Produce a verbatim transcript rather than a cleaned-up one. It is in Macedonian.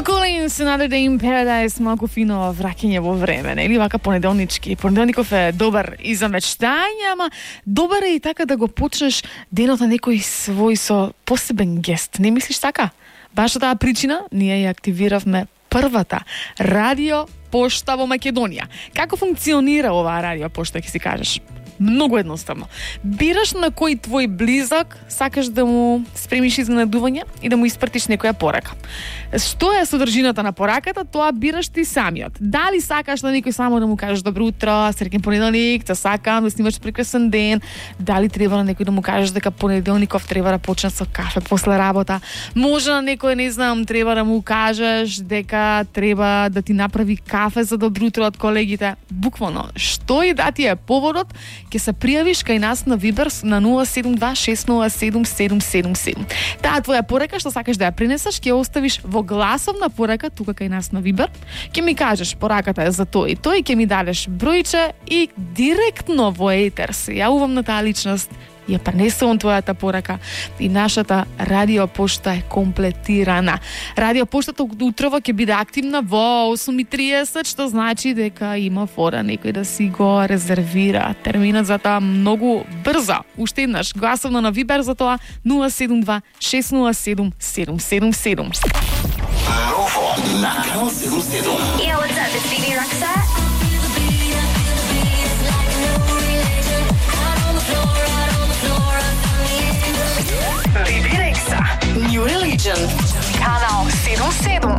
Collins, Another Day in Paradise, малку фино враќање во време, нели? Вака понеделнички. Понеделников е добар и за мечтање, ама добар е и така да го почнеш денот на некој свој со посебен гест. Не мислиш така? Баш за таа причина ние ја активиравме првата радио пошта во Македонија. Како функционира оваа радио пошта, ќе си кажеш? Многу едноставно. Бираш на кој твој близок сакаш да му спремиш изненадување и да му испратиш некоја порака. Што е содржината на пораката, тоа бираш ти самиот. Дали сакаш на некој само да му кажеш добро утро, среќен понеделник, те сакам да снимаш прекрасен ден, дали треба на некој да му кажеш дека понеделников треба да почне со кафе после работа, може на некој, не знам, треба да му кажеш дека треба да ти направи кафе за добро утро од колегите. Буквално, што и да ти е поводот, ќе се пријавиш кај нас на Viber на нула седум два шест нула седум седум седум седум. Таа твоја порака што сакаш да ја пренесеш, ќе оставиш во гласовна порака тука кај нас на Viber. Ќе ми кажеш пораката е за тој и тој, ќе ми дадеш бројче и директно во етер се јавувам на таа личност. Ја пренесувам твојата порака и нашата радио пошта е комплетирана. Радио поштата утрово ќе биде активна во осум и триесет, што значи дека има фора некој да си го резервира терминот за тоа многу брзо. Уште еднаш гласовно на Viber за тоа нула седум два шест нула седум седум седум седум. Ново на Канал седум седум. Yo, what's up? It's Bibi Rexha. Bibi Rexha. New Religion. Канал седум седум.